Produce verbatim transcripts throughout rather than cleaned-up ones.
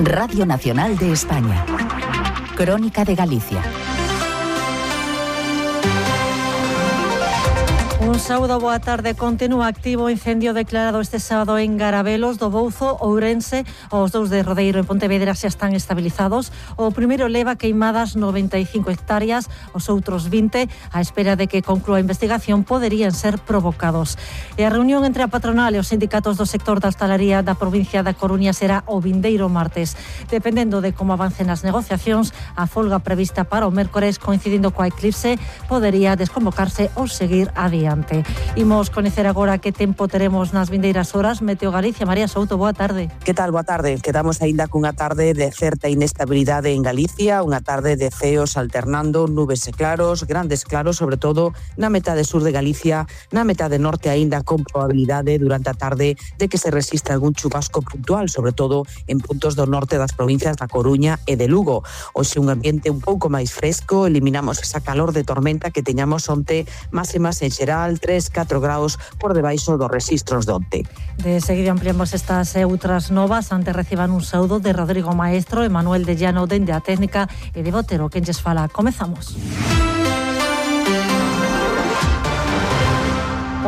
Radio Nacional de España. Crónica de Galicia. Un sábado, boa tarde. Continúa activo o incendio declarado este sábado en Garabelos do Bouzo, Ourense. Os dous de Rodeiro e Pontevedra xa están estabilizados. O primeiro leva queimadas noventa e cinco hectáreas, os outros vinte, á espera de que conclúa a investigación, poderían ser provocados. E a reunión entre a patronal e os sindicatos do sector da hostalería da provincia da Coruña será o vindeiro martes. Dependendo de como avancen as negociacións, a folga prevista para o mércores, coincidindo coa eclipse, podería desconvocarse ou seguir adiante. Imos coñecer agora que tempo teremos nas vindeiras horas. Meteo Galicia, María Souto, boa tarde. Que tal, boa tarde? Quedamos aínda cunha tarde de certa inestabilidade en Galicia, unha tarde de ceos alternando, nubes e claros, grandes claros, sobre todo na metade sur de Galicia, na metade norte aínda con probabilidade durante a tarde de que se resista algún chubasco puntual, sobre todo en puntos do norte das provincias da Coruña e de Lugo. Hoxe un ambiente un pouco máis fresco, eliminamos esa calor de tormenta que teñamos onte, máximas en xeral tres a catro graus por debaixo dos rexistros de onte. De seguido ampliamos estas e outras novas. Antes reciban un saúdo de Rodrigo Maestro e Manuel de Llano dende a técnica e de Botero quen lles fala. Comezamos.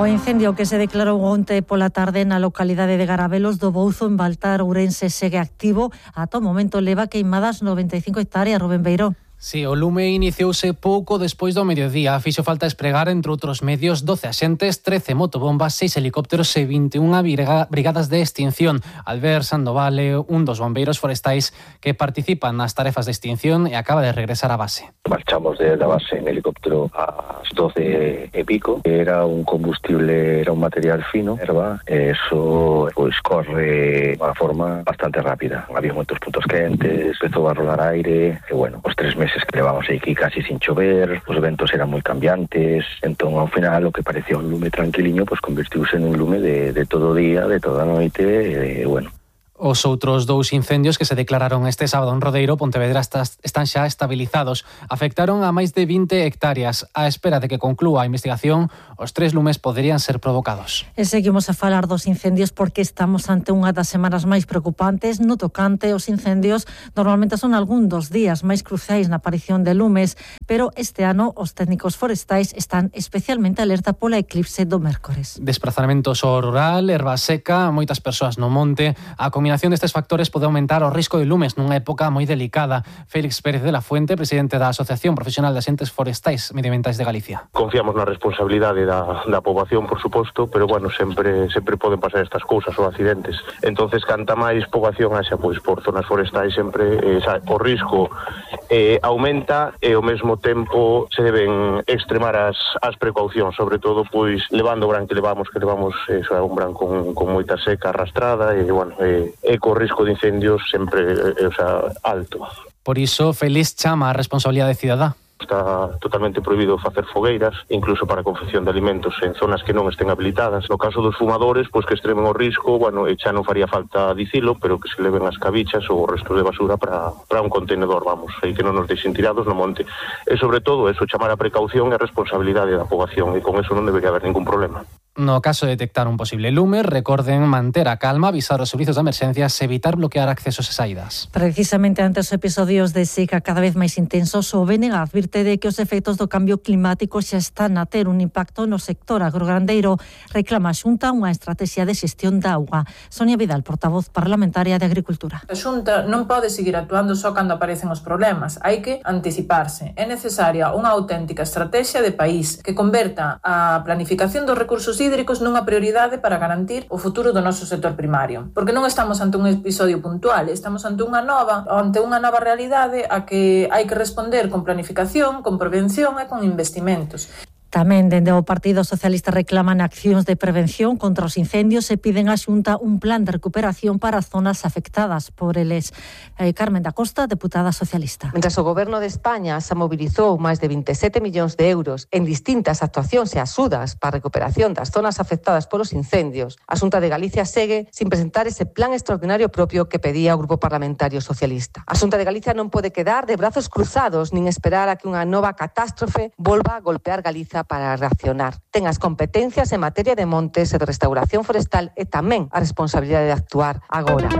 O incendio que se declarou onte pola tarde na localidade de Garabelos do Bouzo, en Baltar, Ourense, segue activo. Ata o momento leva queimadas noventa e cinco hectáreas. Rubén Beiró. Si, o lume iniciouse pouco despois do mediodía. Fixo falta espregar, entre outros medios, doce axentes, trece motobombas, seis helicópteros e vinte e unha brigadas de extinción. Albert Sandovale, un dos bombeiros forestais que participan nas tarefas de extinción e acaba de regresar á base. Marchamos de la base en helicóptero ás doce e pico. Era un combustible, era un material fino, erva, e eso pois corre de unha forma bastante rápida. Había moitos puntos quentes, empezou a rolar aire, e bueno, os tres meses que levamos aquí casi sin chover, os ventos eran moi cambiantes, entón ao final o que parecía un lume tranquiliño pois convertiuse en un lume de, de todo o día, de toda a noite, e bueno. Os outros dous incendios que se declararon este sábado en Rodeiro, Pontevedra, están xa estabilizados. Afectaron a máis de vinte hectáreas. A espera de que conclúa a investigación, os tres lumes poderían ser provocados. E seguimos a falar dos incendios porque estamos ante unha das semanas máis preocupantes no tocante aos incendios. Normalmente son algún dos días máis cruciais na aparición de lumes, pero este ano os técnicos forestais están especialmente alerta pola eclipse do mércores. Desplazamentos ao rural, erva seca, moitas persoas no monte. A A combinación destes factores pode aumentar o risco de lumes nunha época moi delicada. Félix Pérez de la Fuente, presidente da Asociación Profesional de Axentes Forestais Medioambientais de Galicia. Confiamos na responsabilidade da, da poboación, por suposto, pero bueno, sempre sempre poden pasar estas cousas ou accidentes. Entonces, canta máis poboación haxa pois por zonas forestais, sempre eh, o risco eh, aumenta e ao mesmo tempo se deben extremar as, as precaucións, sobre todo pois levando o bran que levamos, que levamos eh, un bran con, con moita seca arrastrada e bueno, eh, e co risco de incendios sempre eh, o sea, alto. Por iso, Félix chama a responsabilidade cidadá. Está totalmente prohibido facer fogueiras, incluso para a confección de alimentos en zonas que non estén habilitadas. No caso dos fumadores, pois que extremen o risco, bueno, e xa non faría falta dicilo, pero que se leven as cabichas ou o resto de basura para, para un contenedor, vamos, e que non nos deixen tirados no monte. E sobre todo, eso, chamar a precaución e a responsabilidade da poboación, e con eso non debería haber ningún problema. No caso de detectar un posible lume, recorden manter a calma, avisar os servizos de emerxencias e evitar bloquear accesos e saídas. Precisamente ante os episodios de seca cada vez máis intensos, o B N G advirte de que os efectos do cambio climático xa están a ter un impacto no sector agrograndeiro. Reclama a Xunta unha estrategia de xestión da auga. Sonia Vidal, portavoz parlamentaria de Agricultura. A Xunta non pode seguir actuando só cando aparecen os problemas. Hai que anticiparse. É necesaria unha auténtica estrategia de país que converta a planificación dos recursos hídricos nunha prioridade para garantir o futuro do noso sector primario. Porque non estamos ante un episodio puntual, estamos ante unha nova, ante unha nova realidade a que hai que responder con planificación, con prevención e con investimentos. Tamén dende o Partido Socialista reclaman accións de prevención contra os incendios e piden á Xunta un plan de recuperación para as zonas afectadas por eles. Eh, Carmen da Costa, deputada socialista. Mentras o Goberno de España se mobilizou máis de vinte e sete millóns de euros en distintas actuacións e axudas para a recuperación das zonas afectadas polos incendios, a Xunta de Galicia segue sin presentar ese plan extraordinario propio que pedía o Grupo Parlamentario Socialista. A Xunta de Galicia non pode quedar de brazos cruzados nin esperar a que unha nova catástrofe volva a golpear Galiza para reaccionar. Ten as competencias en materia de montes e de restauración forestal e tamén a responsabilidade de actuar agora.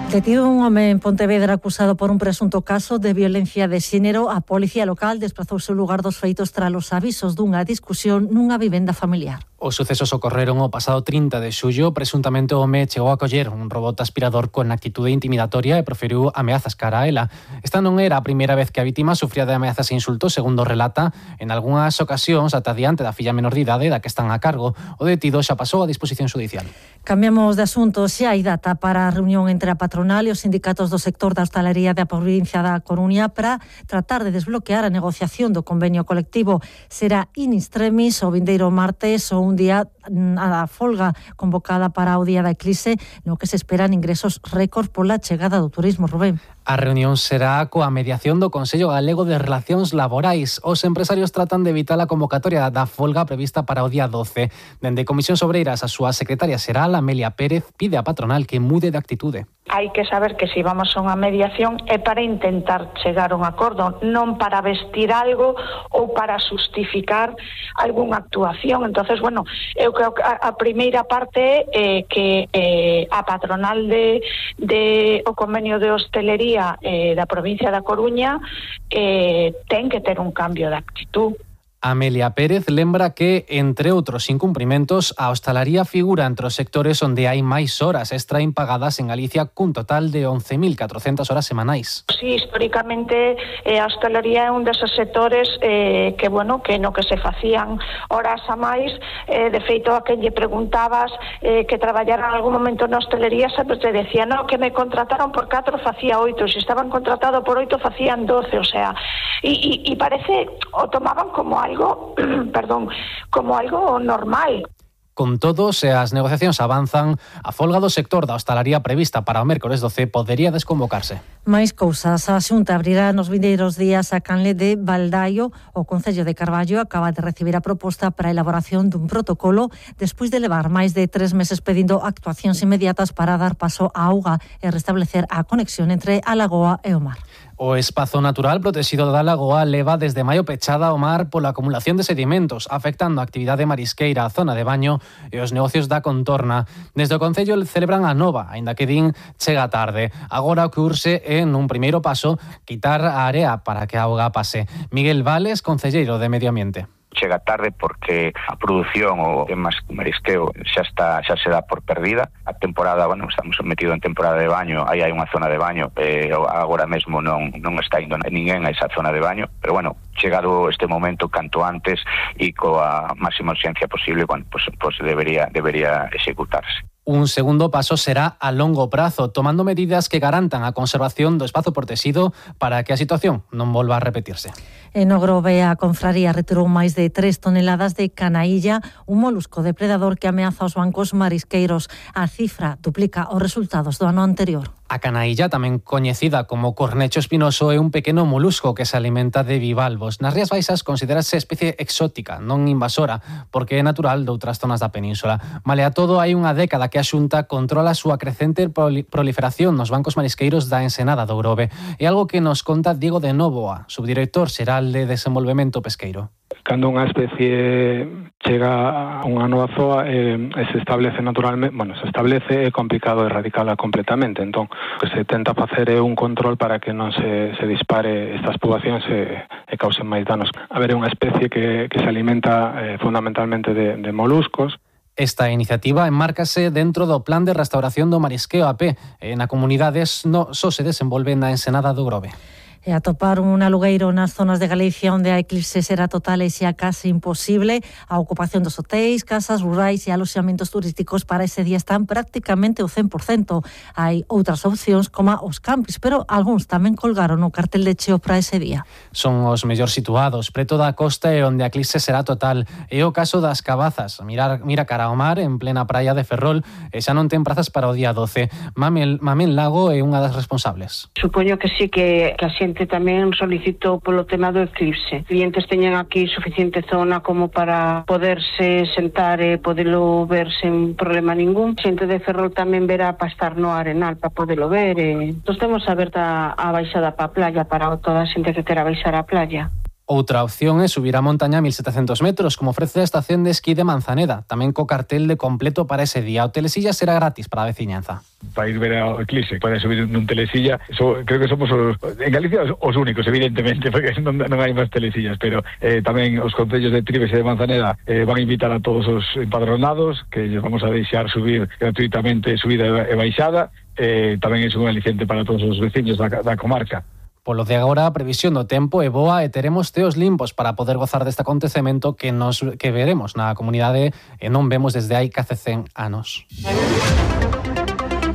Detido un home en Pontevedra acusado por un presunto caso de violencia de xénero, a policía local desplazouse ao lugar dos feitos tras os avisos dunha discusión nunha vivenda familiar. Os sucesos ocorreron o pasado trinta de xullo. Presuntamente o home chegou a coller un robot aspirador con actitude intimidatoria e proferiu ameazas cara a ela. Esta non era a primeira vez que a vítima sufría de ameazas e insultos, segundo relata, en algunhas ocasións ata diante da filla menor de idade da que están a cargo. O detido xa pasou a disposición judicial. Cambiamos de asunto. Xa hai data para a reunión entre a patronal e os sindicatos do sector da hostalería da provincia da Coruña para tratar de desbloquear a negociación do convenio colectivo. Será in extremis o vindeiro martes ou un día a folga convocada para o día da eclipse, no que se esperan ingresos récord pola chegada do turismo. Rubén. A reunión será coa mediación do Consello Galego de Relacións Laborais. Os empresarios tratan de evitar a convocatoria da folga prevista para o día doce. Dende Comisións Obreiras, a súa secretaria xeral, Amelia Pérez, pide á patronal que mude de actitude. Hai que saber que se vamos a unha mediación é para intentar chegar a un acordo, non para vestir algo ou para justificar algunha actuación. Entonces, bueno, eu creo que a, a primeira parte é eh, que eh, a patronal de, de o convenio de hostelería eh, da provincia da Coruña eh, ten que ter un cambio de actitud. Amelia Pérez lembra que, entre outros incumprimentos, a hostalaría figura entre os sectores onde hai máis horas extra impagadas en Galicia, cun total de once mil catrocentas horas semanais. Sí, históricamente eh, a hostalería é un deses sectores eh, que, bueno, que no que se facían horas a máis. Eh, de feito, a quen lle preguntabas eh, que traballara en algún momento na hostelería, sempre te decía, no, que me contrataron por catro, facía oito, se estaban contratados por oito, facían doce, o sea, e, e, e parece, o tomaban como algo, perdón, como algo normal. Con todo, se as negociacións avanzan, a folga do sector da hostalaría prevista para o mércores doce podería desconvocarse. Mais cousas. A Xunta abrirá nos vindeiros días a canle de Baldaio. O Concello de Carballo acaba de recibir a proposta para a elaboración dun protocolo despois de levar máis de tres meses pedindo actuacións inmediatas para dar paso á auga e restablecer a conexión entre a lagoa e o mar. O espazo natural protegido da lagoa leva desde maio pechada ao mar pola acumulación de sedimentos, afectando a actividade marisqueira, a zona de baño e os negocios da contorna. Desde o Concello celebran a nova, aínda que din chega tarde. Agora o que urxe é, nun primeiro paso, quitar a area para que a auga pase. Miguel Vales, concelleiro de Medio Ambiente. Chega tarde porque a produción o temas marisqueo xa está xa se dá por perdida. A temporada, bueno, estamos metidos en temporada de baño, aí hai unha zona de baño, eh, agora mesmo non non está indo ninguén a esa zona de baño, pero bueno, chegado este momento canto antes e coa máxima urxencia posible, bueno, pues, pues debería debería executarse. Un segundo paso será a longo prazo, tomando medidas que garantan a conservación do espazo protegido para que a situación non volva a repetirse. En Ogrove, a confraría retirou máis de tres toneladas de canailla, un molusco depredador que ameaza os bancos marisqueiros. A cifra duplica os resultados do ano anterior. A canailla, tamén coñecida como cornecho espinoso, é un pequeno molusco que se alimenta de bivalvos. Nas Rías Baixas considerase especie exótica, non invasora, porque é natural de outras zonas da península. Malea todo, hai unha década que a Xunta controla a súa crecente proliferación nos bancos marisqueiros da Ensenada do Grove. É algo que nos conta Diego de Nóvoa, subdirector xeral de Desenvolvemento Pesqueiro. Cando unha especie chega a unha nova zoa e eh, se establece naturalmente, bueno, se establece é complicado erradicala completamente. Entón, o que se tenta facer é un control para que non se, se dispare estas poboacións e, e causen máis danos. A ver, é unha especie que, que se alimenta eh, fundamentalmente de, de moluscos. Esta iniciativa enmárcase dentro do Plan de Restauración do Marisqueo A P. E na comunidade no, só se desenvolve na Ensenada do Grove. E atopar un alugueiro nas zonas de Galicia onde a eclipse será total e xa case imposible. A ocupación dos hotéis, casas rurais e aloxamentos turísticos para ese día están prácticamente o cen por cento. Hai outras opcións como os campis, pero algúns tamén colgaron o cartel de cheo para ese día. Son os mellor situados, preto da costa e onde a eclipse será total. É o caso das Cabazas. Mirar, mira cara ao mar en plena praia de Ferrol e xa non ten prazas para o día doce. Mamel, Mamén Lago é unha das responsables. Supoño que sí que, que a xente tamén solicitou polo tema do eclipse. Clientes teñen aquí suficiente zona como para poderse sentar e podelo ver sen problema ningún. Xente de Ferrol tamén verá para estar no Arenal para podelo ver. E... Nos temos aberta a baixada para a playa para toda a xente que quera baixar a playa. Outra opción é subir a montaña a mil setecientos metros, como ofrece a estación de esquí de Manzaneda, tamén co cartel de completo para ese día. O telesilla será gratis para a veciñanza. Para ir ver ao eclipse, pode subir nun telesilla. So, creo que somos os, en Galicia os, os únicos, evidentemente, porque non, non hai máis telesillas, pero eh, tamén os concellos de Trives e de Manzaneda eh, van a invitar a todos os empadronados, que lles vamos a deixar subir gratuitamente subida e baixada. Eh, tamén é un aliciente para todos os veciños da, da comarca. Polo de agora, a previsión do tempo é boa e teremos teos limpos para poder gozar deste acontecemento que nos que veremos na comunidade e non vemos desde hai case cen anos.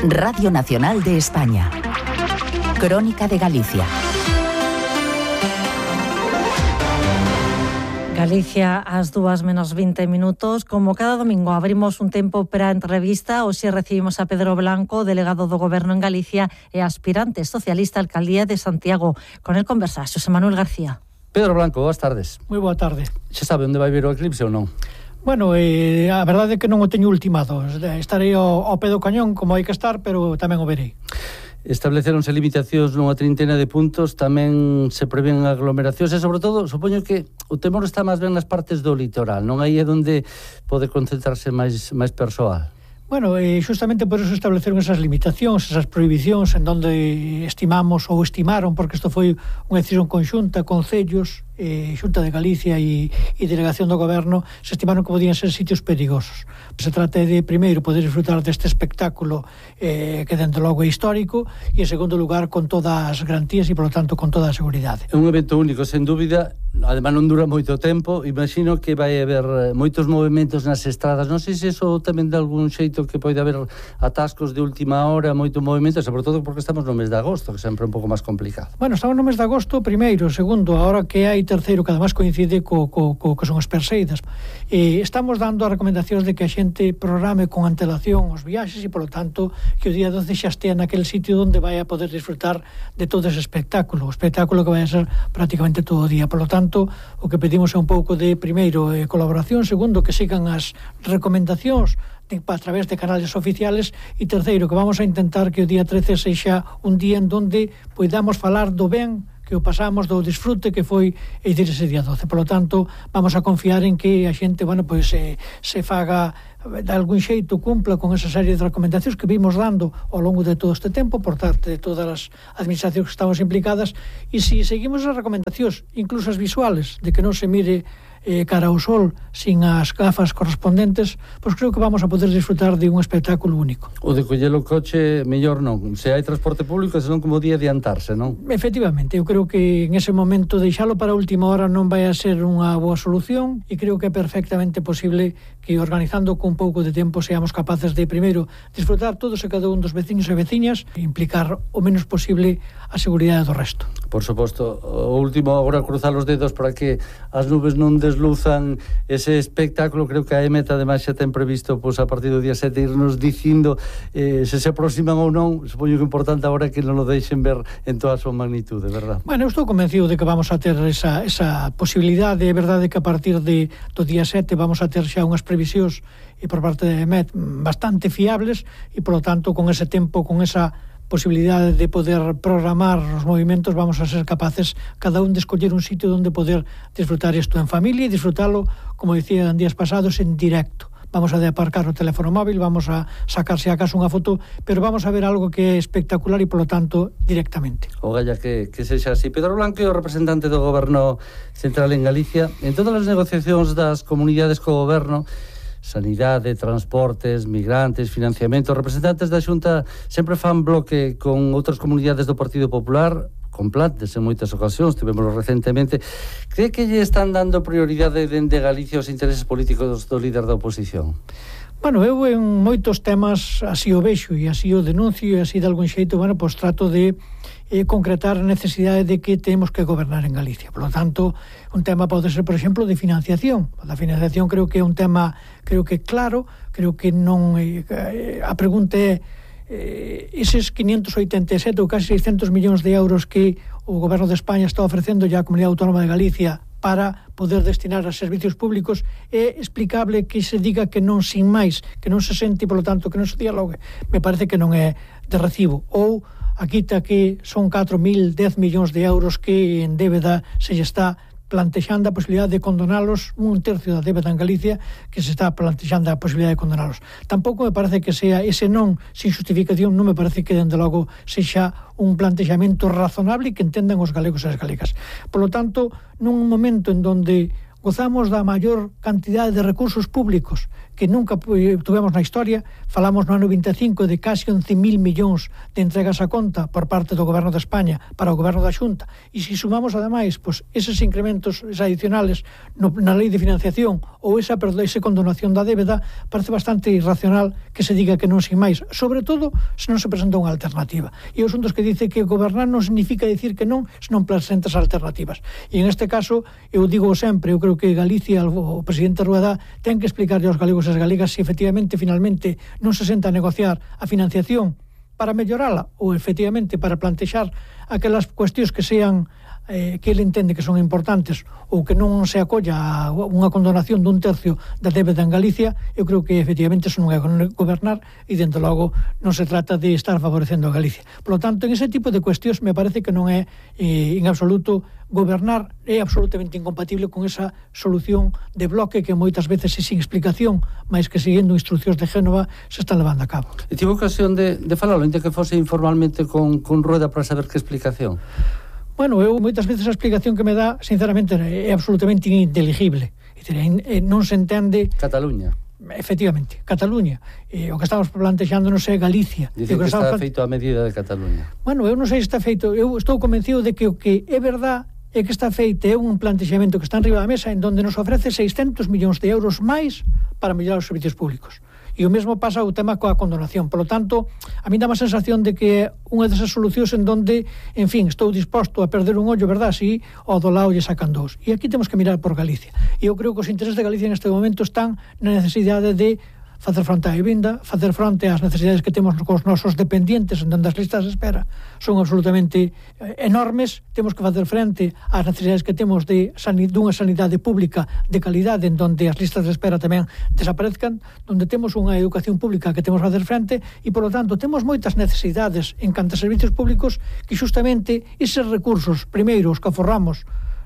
Radio Nacional de España. Crónica de Galicia. Galicia ás dúas menos vinte minutos. Como cada domingo abrimos un tempo para a entrevista. Hoxe recibimos a Pedro Blanco, delegado do Goberno en Galicia e aspirante socialista á alcaldía de Santiago. Con el conversa Xosé Manuel García. Pedro Blanco, boas tardes. Moi boa tarde. Xa sabe onde vai vir o eclipse ou non? Bueno, eh, a verdade é que non o teño ultimado. Estarei ao, ao pé do cañón como hai que estar, pero tamén o verei. Estableceronse limitacións nunha trintena de puntos, tamén se prevén aglomeracións e, sobre todo, supoño que o temor está máis ben nas partes do litoral, non aí é onde pode concentrarse máis, máis persoal. Bueno, eh, justamente por eso estableceron esas limitacións, esas prohibicións en donde estimamos ou estimaron, porque isto foi unha decisión conxunta, concellos, eh, Xunta de Galicia e, e Delegación do Goberno, se estimaron que podían ser sitios perigosos. Se trata de, primeiro, poder disfrutar deste espectáculo eh, que, dentro logo, é histórico, e, en segundo lugar, con todas as garantías e, polo tanto, con toda a seguridade. É un evento único, sen dúbida, además non dura moito tempo, imagino que vai haber moitos movimentos nas estradas, non sei se iso tamén de algún xeito que pode haber atascos de última hora, moito movimento, sobre todo porque estamos no mes de agosto, que sempre é un pouco máis complicado. Bueno, estamos no mes de agosto, primeiro, segundo, ahora que hai terceiro, que además coincide co, co, co que son as perseidas. Eh, estamos dando as recomendacións de que a xente programe con antelación os viaxes e, polo tanto, que o día doce xa estea naquele sitio onde vai a poder disfrutar de todo ese espectáculo, o espectáculo que vai a ser prácticamente todo o día. Polo tanto, o que pedimos é un pouco de, primeiro, eh, colaboración, segundo, que sigan as recomendacións de, a través de canales oficiales, e terceiro, que vamos a intentar que o día trece sexa un día en donde poidamos falar do ben que o pasamos, do disfrute que foi e dicir ese día doce. Por lo tanto, vamos a confiar en que a xente, bueno, pois se, se faga de algún xeito, cumpla con esa serie de recomendacións que vimos dando ao longo de todo este tempo por parte de todas as administracións que estamos implicadas, e se seguimos as recomendacións, incluso as visuales, de que non se mire eh, cara ao sol sin as gafas correspondentes, pois creo que vamos a poder disfrutar de un espectáculo único. O de coller o coche, mellor non. Se hai transporte público, senón como día adiantarse, non? Efectivamente, eu creo que en ese momento deixalo para a última hora non vai a ser unha boa solución, e creo que é perfectamente posible que, organizando con un pouco de tempo, seamos capaces de, primeiro, disfrutar todos e cada un dos veciños e veciñas e implicar o menos posible a seguridade do resto. Por suposto. O último, agora, cruzar os dedos para que as nubes non desluzan ese espectáculo. Creo que a EMET, ademais, xa ten previsto, pois, a partir do día sete, irnos dicindo eh, se se aproximan ou non. Supoño que é importante agora que non o deixen ver en toda a súa magnitude, verdad? Bueno, eu estou convencido de que vamos a ter esa, esa posibilidade. É verdade que a partir de, do día sete vamos a ter xa unhas previsións e por parte de EMET bastante fiables, e, polo tanto, con ese tempo, con esa posibilidade de poder programar os movimentos, vamos a ser capaces cada un de escoller un sitio onde poder disfrutar isto en familia e disfrutalo, como dicía en días pasados, en directo. Vamos a de aparcar o teléfono móvil, vamos a sacarse a casa unha foto, pero vamos a ver algo que é espectacular e, polo tanto, directamente. O galla que, que sexa así. Pedro Blanco é o representante do Goberno Central en Galicia. En todas as negociacións das comunidades co Goberno, sanidade, transportes, migrantes, financiamento, representantes da Xunta sempre fan bloque con outras comunidades do Partido Popular, con plantes en moitas ocasións, tivemos recentemente. Cree que lle están dando prioridade dende Galicia aos intereses políticos do líder da oposición? Bueno, eu en moitos temas así o vexo e así o denuncio, e así de algún xeito, bueno, pois trato de eh, concretar a necesidade de que temos que gobernar en Galicia. Por lo tanto, un tema pode ser, por exemplo, de financiación. A financiación creo que é un tema, creo que claro, creo que non eh, a pregunta é eh, eses quinientos oitenta e sete ou casi seiscentos millóns de euros que o Goberno de España está ofrecendo ya a Comunidade Autónoma de Galicia para poder destinar a servicios públicos, é explicable que se diga que non sin máis, que non se sente, polo tanto, que non se dialogue. Me parece que non é de recibo. Ou a quita que son catro mil, dez millóns de euros que en débeda se lle está plantexando a posibilidad de condonalos un tercio da débeda en Galicia, que se está plantexando a posibilidad de condonalos. Tampouco me parece que sea ese non sin justificación, non me parece que dende logo sexa un plantexamento razonable e que entendan os galegos e as galegas. Por lo tanto, nun momento en donde gozamos da maior cantidade de recursos públicos que nunca tuvemos na historia, falamos no ano vinte e cinco de casi once mil millóns de entregas a conta por parte do Goberno de España para o Goberno da Xunta, e se sumamos ademais pois, eses incrementos adicionales no, na lei de financiación ou esa, perdón, esa condonación da débeda, parece bastante irracional que se diga que non sin máis, sobre todo se non se presenta unha alternativa. E os asuntos que dice que gobernar non significa dicir que non, se non presentas alternativas. E en este caso, eu digo sempre, eu creo que Galicia, o presidente Rueda, ten que explicarlle aos galegos e as galegas se efectivamente, finalmente, non se senta a negociar a financiación para mellorala ou efectivamente para plantexar aquelas cuestións que sean eh, que ele entende que son importantes ou que non se acolla a unha condonación dun tercio da débeda en Galicia. Eu creo que efectivamente eso non é gobernar e dentro logo non se trata de estar favorecendo a Galicia. Por lo tanto, en ese tipo de cuestións me parece que non é eh, en absoluto gobernar, é absolutamente incompatible con esa solución de bloque que moitas veces é sin explicación, máis que seguindo instruccións de Génova se está levando a cabo. E tive ocasión de, de falalo, ainda que fose informalmente con, con Rueda para saber que explicación? Bueno, eu moitas veces a explicación que me dá, sinceramente, é absolutamente ininteligible. Non se entende... Cataluña. Efectivamente, Cataluña. Eh, o que estamos plantexándonos é Galicia. Dicen que, que está feito a medida de Cataluña. Bueno, eu non sei se está feito. Eu estou convencido de que o que é verdad é que está feito é un plantexamento que está en riba da mesa en donde nos ofrece seiscentos millóns de euros máis para mellorar os servicios públicos. E o mesmo pasa o tema coa condonación. Por lo tanto, a mí dá má sensación de que é unha desas solucións en donde, en fin, estou disposto a perder un ollo, verdad, si ao do lado lle sacan dous. E aquí temos que mirar por Galicia. E eu creo que os intereses de Galicia neste momento están na necesidade de facer fronte á vivenda, facer fronte ás necesidades que temos cos nosos dependientes, en donde as listas de espera son absolutamente enormes. Temos que facer frente ás necesidades que temos de sanidade, dunha sanidade pública de calidade, en donde as listas de espera tamén desaparezcan, donde temos unha educación pública que temos que facer frente, e, por lo tanto, temos moitas necesidades en canto a servicios públicos que, justamente, eses recursos, primeiro, os que aforramos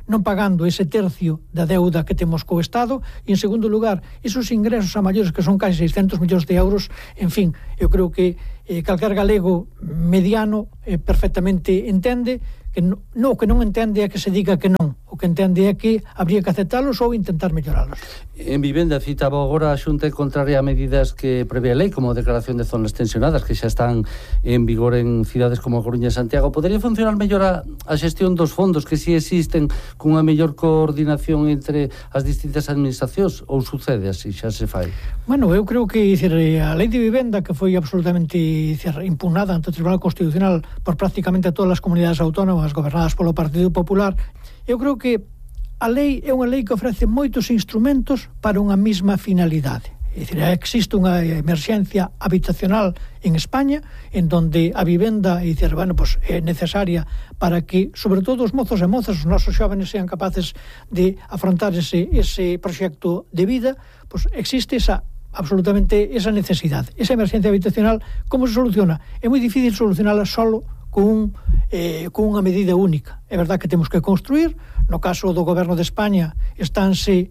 non pagando ese tercio da deuda que temos co Estado, e, en segundo lugar, esos ingresos a maiores que son casi seiscentos millóns de euros. En fin, eu creo que eh, calquer galego mediano eh, perfectamente entende que no, no, que non entende é que se diga que non, o que entende é que habría que aceptalos ou intentar melloralos. En vivenda, citaba agora a Xunta contraria a medidas que prevé a lei, como a declaración de zonas tensionadas, que xa están en vigor en cidades como a Coruña e Santiago. Podería funcionar mellor a, a xestión dos fondos que si existen cunha mellor coordinación entre as distintas administracións, ou sucede así, xa se fai? Bueno, eu creo que decir, a lei de vivenda, que foi absolutamente decir, impugnada ante o Tribunal Constitucional por prácticamente todas as comunidades autónomas gobernadas polo Partido Popular, eu creo que a lei é unha lei que ofrece moitos instrumentos para unha mesma finalidade. É dicir, existe unha emerxencia habitacional en España en donde a vivenda é, dicir, bueno, pues, é necesaria para que, sobre todo, os mozos e mozas, os nosos xóvenes, sean capaces de afrontar ese, ese proxecto de vida. Pues existe esa absolutamente esa necesidade. Esa emerxencia habitacional, como se soluciona? É moi difícil solucionala solo con, eh, con unha medida única. É verdad que temos que construir. No caso do Goberno de España estánse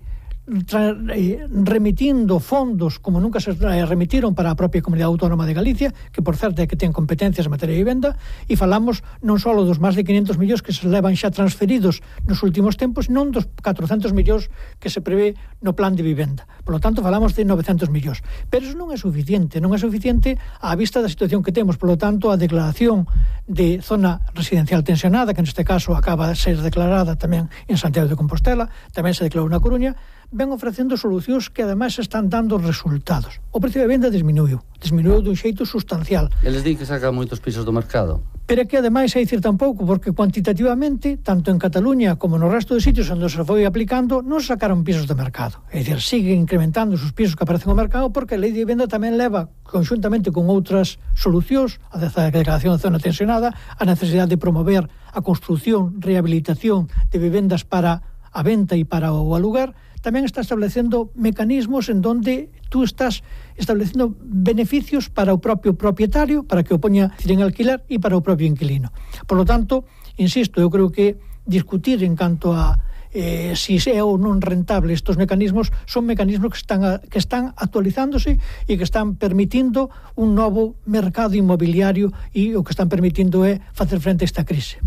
tra, eh, remitindo fondos como nunca se eh, remitiron para a propia Comunidade Autónoma de Galicia, que por certo é que ten competencias en materia de vivenda, e falamos non só dos máis de quinhentos millóns que se levan xa transferidos nos últimos tempos, non dos catrocentos millóns que se prevé no plan de vivenda. Por lo tanto, falamos de novecentos millóns. Pero eso non é suficiente, non é suficiente á vista da situación que temos. Por lo tanto, a declaración de zona residencial tensionada, que neste caso acaba de ser declarada tamén en Santiago de Compostela, tamén se declarou na Coruña, ven ofrecendo solucións que ademais están dando resultados. O precio de venda disminuiu, disminuiu dun xeito sustancial. Eles di que sacan moitos pisos do mercado. Pero é que ademais hai dicir tampouco, porque cuantitativamente, tanto en Cataluña como no resto de sitios onde se foi aplicando, non sacaron pisos do mercado. É dicir, siguen incrementando os pisos que aparecen no mercado, porque a lei de vivenda tamén leva, conxuntamente con outras solucións, a declaración de zona tensionada, a necesidade de promover a construción, rehabilitación de vivendas para a venta e para o alugar, tamén está establecendo mecanismos en donde tú estás establecendo beneficios para o propio propietario, para que o poña en alquiler, e para o propio inquilino. Por lo tanto, insisto, eu creo que discutir en canto a eh, si é ou non rentable estos mecanismos, son mecanismos que están, a, que están actualizándose e que están permitindo un novo mercado inmobiliario e o que están permitindo é facer frente a esta crise.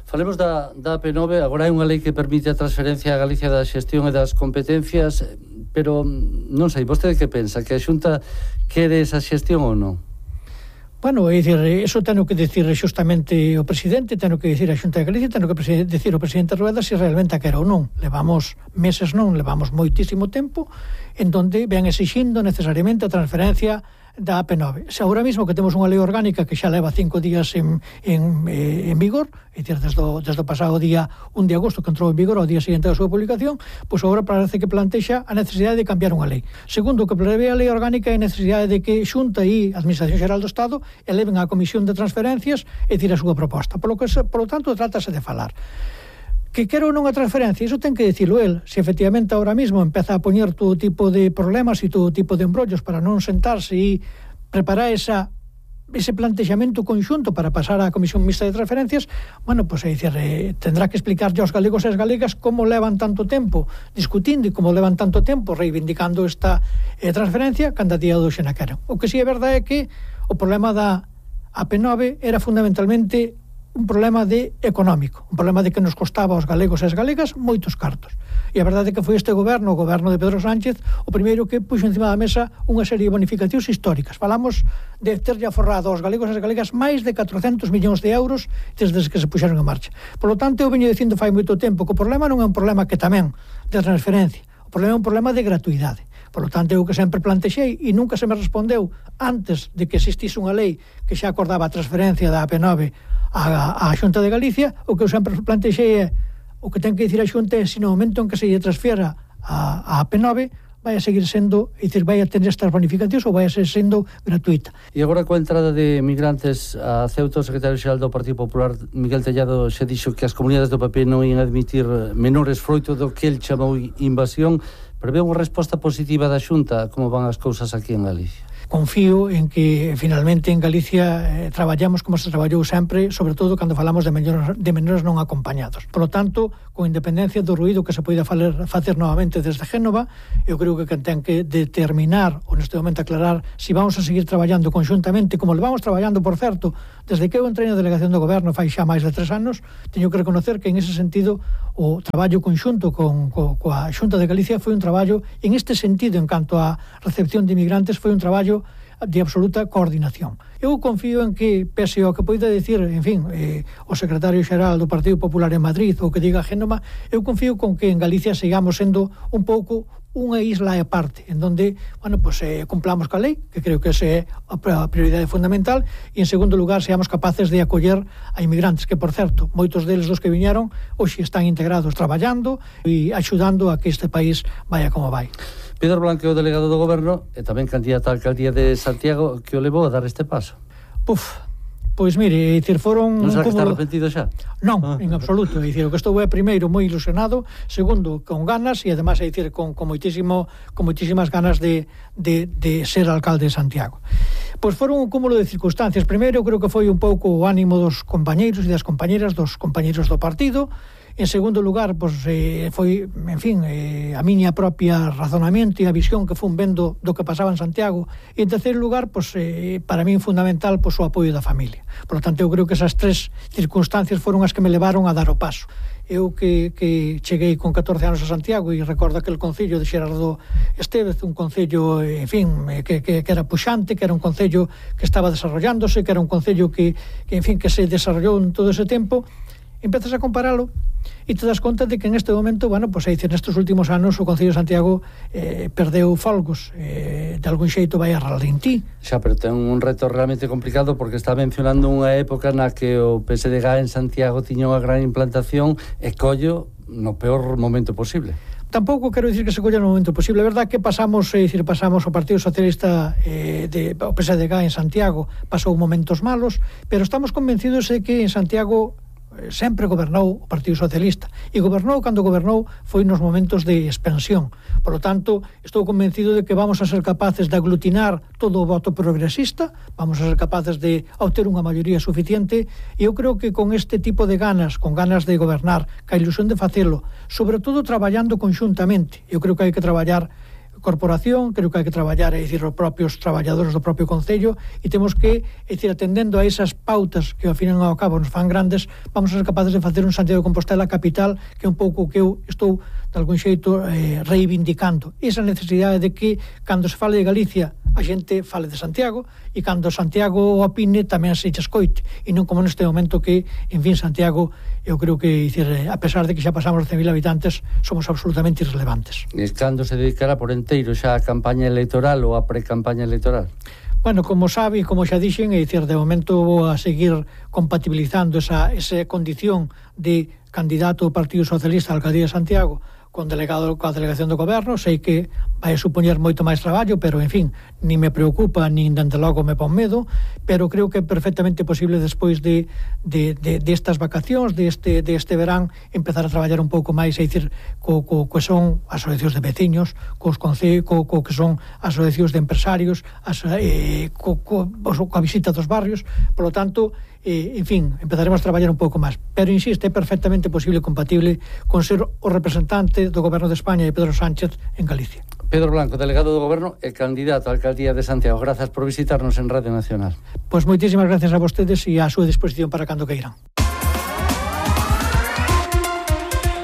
Falemos da, da A P nove, agora hai unha lei que permite a transferencia a Galicia da xestión e das competencias, pero non sei, vostede que pensa? Que a Xunta quere esa xestión ou non? Bueno, é dicir, eso teno que decir xustamente o presidente, teno que decir a Xunta de Galicia, teno que decir o presidente Rueda se realmente a quero ou non. Levamos meses non, levamos moitísimo tempo en donde ven exixindo necesariamente a transferencia da A P nove. Se agora mesmo que temos unha lei orgánica que xa leva cinco días en, en, en vigor, é dicir, desde o, desde o pasado día un de agosto que entrou en vigor ao día seguinte da súa publicación, pois agora parece que plantexa a necesidade de cambiar unha lei. Segundo, o que prevé a lei orgánica é a necesidade de que Xunta e Administración Xeral do Estado eleven á Comisión de Transferencias e dicir a súa proposta. Por lo, que, por lo tanto, trátase de falar. Que quero non a transferencia, iso ten que dicilo el. Se efectivamente ahora mismo empeza a poñer todo tipo de problemas e todo tipo de embrollos para non sentarse e preparar esa, ese plantexamento conxunto para pasar á Comisión Mixta de Transferencias, bueno, pois pues, é dicir, eh, tendrá que explicarlle aos galegos e as galegas como levan tanto tempo discutindo e como levan tanto tempo reivindicando esta eh, transferencia cando a día de hoxe na queren. O que si é verdade é que o problema da A P nove era fundamentalmente un problema de económico, un problema de que nos costaba aos galegos e as galegas moitos cartos. E a verdade é que foi este goberno, o goberno de Pedro Sánchez, o primeiro que puxo encima da mesa unha serie de bonificacións históricas. Falamos de terlle aforrado aos galegos e as galegas máis de catrocentos millóns de euros desde que se puxeron en marcha. Por lo tanto, eu veño dicindo fai moito tempo que o problema non é un problema que tamén de transferencia, o problema é un problema de gratuidade. Por lo tanto, eu que sempre plantexei e nunca se me respondeu antes de que existise unha lei que xa acordaba a transferencia da A P nove a, a Xunta de Galicia, o que eu sempre plantexei é o que ten que dicir a Xunta é se no momento en que se lle transfiera a, a A P nove vai a seguir sendo, é dicir, vai a tener estas bonificacións ou vai a ser sendo gratuita. E agora coa entrada de migrantes a Ceuta, o secretario xeral do Partido Popular, Miguel Tellado, xa dixo que as comunidades do P P non ian admitir menores froito do que el chamou invasión. Prevé unha resposta positiva da Xunta, como van as cousas aquí en Galicia? Confío en que finalmente en Galicia eh, traballamos como se traballou sempre, sobre todo cando falamos de menores, de menores non acompañados. Por lo tanto, con independencia do ruído que se poida faler, facer novamente desde Génova, eu creo que ten que determinar, ou neste momento aclarar, se si vamos a seguir traballando conxuntamente, como le vamos traballando, por certo, desde que eu entrei na delegación do goberno fai xa máis de tres anos, teño que reconocer que en ese sentido o traballo conxunto con, co, coa Xunta de Galicia foi un traballo, en este sentido, en canto a recepción de inmigrantes, foi un traballo de absoluta coordinación. Eu confío en que, pese ao que poida decir, en fin, eh, o secretario xeral do Partido Popular en Madrid ou que diga Génova, eu confío con que en Galicia sigamos sendo un pouco unha isla e parte, en donde, bueno, pues eh, cumplamos ca lei, que creo que esa é a prioridade fundamental, e en segundo lugar, seamos capaces de acoller a inmigrantes, que, por certo, moitos deles dos que viñeron, hoxe están integrados traballando e axudando a que este país vaya como vai. Pedro Blanco, o delegado do goberno e tamén candidato á alcaldía de Santiago, que o levou a dar este paso? Puf, pois mire, é dicir, foron... Non será que está arrepentido xa? Non, ah. en absoluto, é dicir, o que estou é primeiro moi ilusionado, segundo, con ganas e además, é dicir, con, con, moitísimo, con moitísimas ganas de, de, de ser alcalde de Santiago. Pois foron un cúmulo de circunstancias. Primeiro, creo que foi un pouco o ánimo dos compañeiros e das compañeras, dos compañeiros do partido. En segundo lugar, pois, eh, foi, en fin, eh, a miña propia razonamento e a visión que fun vendo do que pasaba en Santiago. E en terceiro lugar, pois, eh, para min fundamental, pois, o apoio da familia. Por lo tanto, eu creo que esas tres circunstancias foron as que me levaron a dar o paso. Eu que, que cheguei con catorce anos a Santiago e recordo aquel concello de Xerardo Estévez, un concello, en fin, que, que, que era puxante, que era un concello que estaba desarrollándose, que era un concello que, que en fin, que se desarrollou en todo ese tempo. Empezas a comparalo e te das conta de que en este momento, bueno, pois aí, nestes últimos anos o Concello de Santiago eh, perdeu folgos, eh, de algún xeito vai a ralentí. Xa, pero ten un reto realmente complicado porque está mencionando unha época na que o P S D G en Santiago tiña unha gran implantación e collo no peor momento posible. Tampouco quero dicir que se colla no momento posible. É verdad que pasamos, é dicir, pasamos o Partido Socialista eh, de, o P S D G en Santiago pasou momentos malos, pero estamos convencidos de que en Santiago sempre gobernou o Partido Socialista e gobernou cando gobernou foi nos momentos de expansión. Por lo tanto, estou convencido de que vamos a ser capaces de aglutinar todo o voto progresista, vamos a ser capaces de obter unha maioría suficiente e eu creo que con este tipo de ganas, con ganas de gobernar, ca ilusión de facelo, sobre todo traballando conxuntamente, eu creo que hai que traballar corporación, creo que hai que traballar, é dicir, os propios traballadores do propio Concello e temos que, é dicir, atendendo a esas pautas que ao fin e ao cabo nos fan grandes, vamos a ser capaces de facer un Santiago de Compostela capital que é un pouco que eu estou de algún xeito eh, reivindicando. Esa necesidade de que cando se fale de Galicia a xente fale de Santiago e cando Santiago opine tamén se escoite e non como neste momento que, en fin, Santiago eu creo que, dicir, a pesar de que xa pasamos de cen mil habitantes somos absolutamente irrelevantes. E cando se dedicará por enteiro xa a campaña electoral ou a pre-campaña electoral? Bueno, como sabe, como xa dixen, é dicir, de momento vou a seguir compatibilizando esa, esa condición de candidato do Partido Socialista á Alcaldía de Santiago con delegado coa delegación do goberno. Sei que vai supoñer moito máis traballo, pero, en fin, ni me preocupa, nin dende logo me pon medo, pero creo que é perfectamente posible despois de, de, de, de estas vacacións, de este, de este verán, empezar a traballar un pouco máis, é dicir, co, co, co son asociacións de veciños, cos conce, co, co que son asociacións de empresarios, as, eh, co, co, coa visita dos barrios, por lo tanto, eh, en fin, empezaremos a traballar un pouco máis. Pero, insisto, é perfectamente posible e compatible con ser o representante do Goberno de España e Pedro Sánchez en Galicia. Pedro Blanco, delegado do Goberno e candidato á Alcaldía de Santiago. Grazas por visitarnos en Radio Nacional. Pois moitísimas gracias a vostedes e a súa disposición para cando queiran.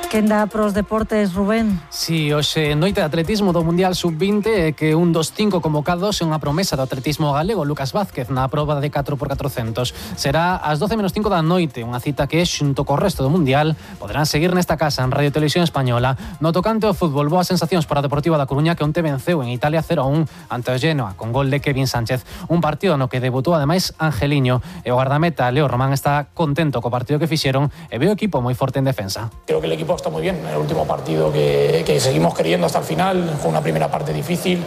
Quenda pros deportes, Rubén. Si, sí, hoxe noite de atletismo do Mundial sub vinte é que un dos cinco convocados é unha promesa do atletismo galego, Lucas Vázquez, na proba de catro por catrocentos. Será ás doce menos cinco da noite, unha cita que, xunto co resto do Mundial, poderán seguir nesta casa en Radio Televisión Española. No tocante ao fútbol, boas sensacións para a Deportiva da Coruña, que onte venceu en Italia cero a un ante o Genoa, con gol de Kevin Sánchez. Un partido no que debutou ademais Angeliño, e o guardameta Leo Román está contento co partido que fixeron e ve o equipo moi forte en defensa. Creo que el equipo está muy bien. En el último partido que, que seguimos queriendo hasta el final, fue una primera parte difícil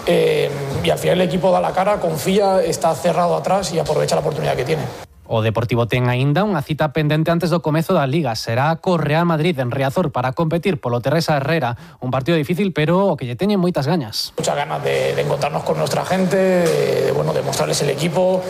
eh, y al final el equipo da la cara, confía, está cerrado atrás y aprovecha la oportunidad que tiene. O Deportivo ten aínda unha cita pendente antes do comezo da Liga. Será co Real Madrid en Riazor para competir polo Teresa Herrera. Un partido difícil, pero o que lle teñen moitas gañas. Muchas ganas de, de encontrarnos con nuestra gente, de, de, bueno, de mostrarles el equipo,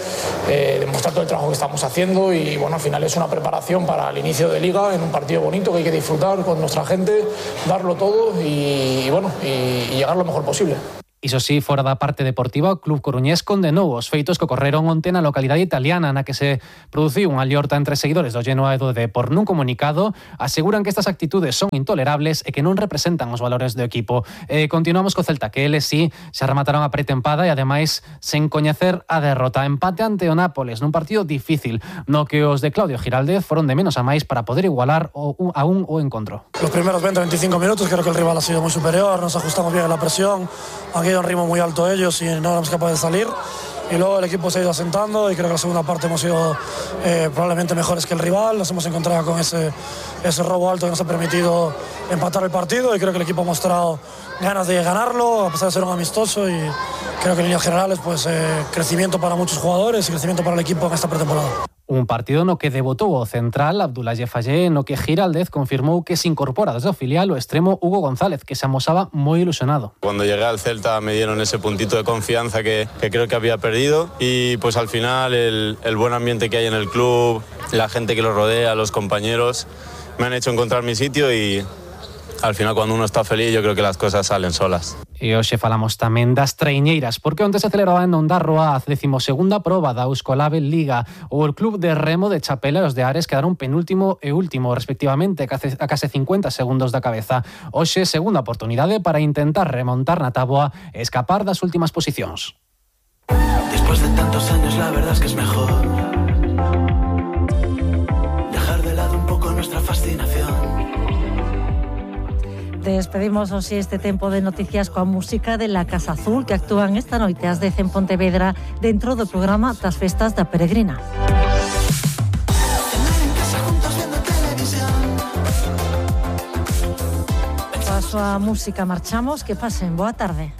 eh, de mostrar todo el trabajo que estamos haciendo y bueno, al final es una preparación para el inicio de Liga en un partido bonito que hay que disfrutar con nuestra gente, darlo todo y, y bueno, y, y llegar lo mejor posible. Iso sí, fora da parte deportiva, o Club Coruñés condenou os feitos que ocorreron onte na localidade italiana na que se produciu unha liorta entre seguidores do Genoa e do Depor. Nun comunicado, aseguran que estas actitudes son intolerables e que non representan os valores do equipo. Eh, continuamos co Celta, que eles sí se remataron a pretempada e ademais sen coñecer a derrota. Empate ante o Nápoles nun partido difícil, no que os de Claudio Giraldez foron de menos a máis para poder igualar o, a un o encontro. Los primeros veinte a veinticinco minutos creo que el rival ha sido muy superior, nos ajustamos bien a la presión, aquí un ritmo muy alto ellos y no éramos capaces de salir y luego el equipo se ha ido asentando y creo que la segunda parte hemos sido eh, probablemente mejores que el rival, nos hemos encontrado con ese, ese robo alto que nos ha permitido empatar el partido y creo que el equipo ha mostrado ganas de ganarlo a pesar de ser un amistoso y creo que en líneas generales pues eh, crecimiento para muchos jugadores y crecimiento para el equipo en esta pretemporada. Un partido no que debutou o central Abdoulaye Fallé, no que Giraldez confirmou que se incorpora desde o filial o extremo Hugo González, que se amosaba moi ilusionado. Cuando llegué al Celta me dieron ese puntito de confianza que, que creo que había perdido y pues al final el, el buen ambiente que hay en el club, la gente que lo rodea, los compañeros, me han hecho encontrar mi sitio y al final cuando uno está feliz yo creo que las cosas salen solas. E hoxe falamos tamén das traiñeiras, porque onte se celebraba en Ondarroa a decimosegunda proba da Euskolabel Liga. O el club de remo de Chapela e os de Ares quedaron penúltimo e último, respectivamente, a case cincuenta segundos da cabeza. Hoxe, segunda oportunidade para intentar remontar na táboa e escapar das últimas posicións. Después de tantos años, la verdad es que es mejor dejar de lado un poco nuestra fascinación. Despedimos así este tempo de noticias coa música de La Casa Azul, que actúan esta noite ás dez en Pontevedra dentro do programa das Festas da Peregrina. Coa súa música marchamos, que pasen boa tarde.